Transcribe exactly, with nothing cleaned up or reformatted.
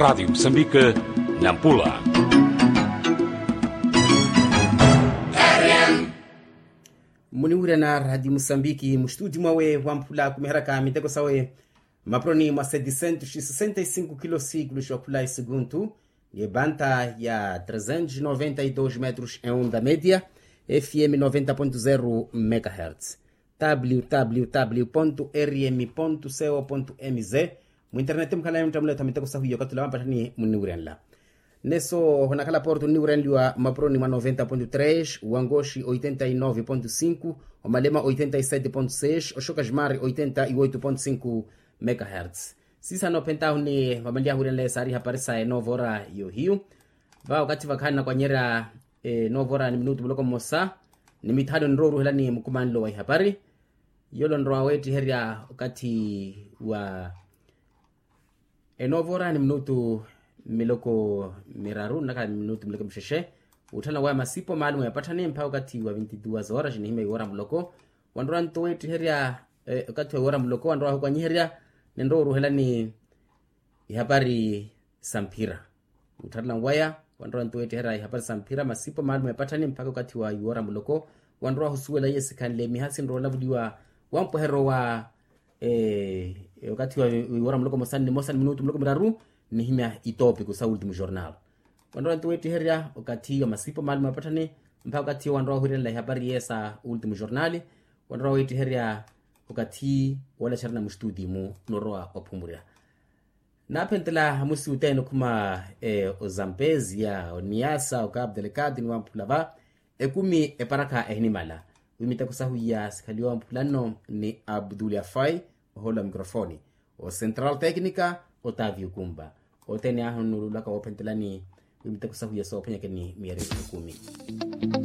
Radiyo musambiki, nampula. Muniwirana radiyo musambiki mustudi mwawe wamphula kumiharaka miteko sawe, mapuroni mwa setisentu sisesenta isingu kilo sikulu xookhula esuguntu, ni ebanta ya tresentu noventa idosi metros eonda media, fm noventa pontu zero megahertz. Www rm co mz. Mwinterneti mukhala yamuttamula etha miteko sahuiya okathi ula wampatthani munniwirenla. Neso honakhala porto nniwirenliwa mmapuroni mwa noventa pontu tres, wangoxi oitenta inove pontu sinku, omalema oitenta isete pontu seis, oxoka ximari oitenta ioito pontu sinku megahertz. Sisano phentahu ni vamanliyahu wirenle saari hapari sa enovora yohiyu. Va okathi vakhaani nakwanyerya enovora ni minutu muloko mmosa ni mithanu nrowa oruhelani mukumanlo wa ihapari. Yolo nrowa weettiherya okathi wa enovora ni minutu miloko miraru nnakhala ni minutu miloko mixexe. Wutthana waya masipo maalumu ya patthani mpakha okathi wa vinti duas horas nihimya iwora muloko. Wanrowa nto weettiherya okathi wa iwora muloko wanrowa ahukwanyiherya ninrowa oruhelani ihapari sa mphira. Muttharelani waya wanrowa nto weettiherya ihapari sa mphira masipo maalumu ya patthani mpakha okathi wa iwora muloko. Wanrowa ahusuwela iye sikhanle miha sinrowa olavuliwa wampweheryo wa okathi wa iwora muloko mosa ni nimosa ni minutu muloko miraru nnihimya itoopiku sa ultimu jornal. Wanrowa nto weettiherya okathi wa masipo maalumu ya patthani mpakha okathi wanrowa ohwiirenela ihapari iye sa ultimu jornal. Wanrowa weettiherya okathi woolecerana mustudi-mu norowa ophumurya. Naaphentela amusi othene okhuma ozampezia oniyasa okapu delikati ni wamphula va ekumi eparakha ehinimala. Wi miteko sahu iya sikhaliwa wamphula nno ni abdul afai ohoolo wa mikrofoni, ocentral tecnica otavio kumba. Othene ahu nnuululaka woophentelani wi miteko sahu iya soophwanyakeni miyari ekumi.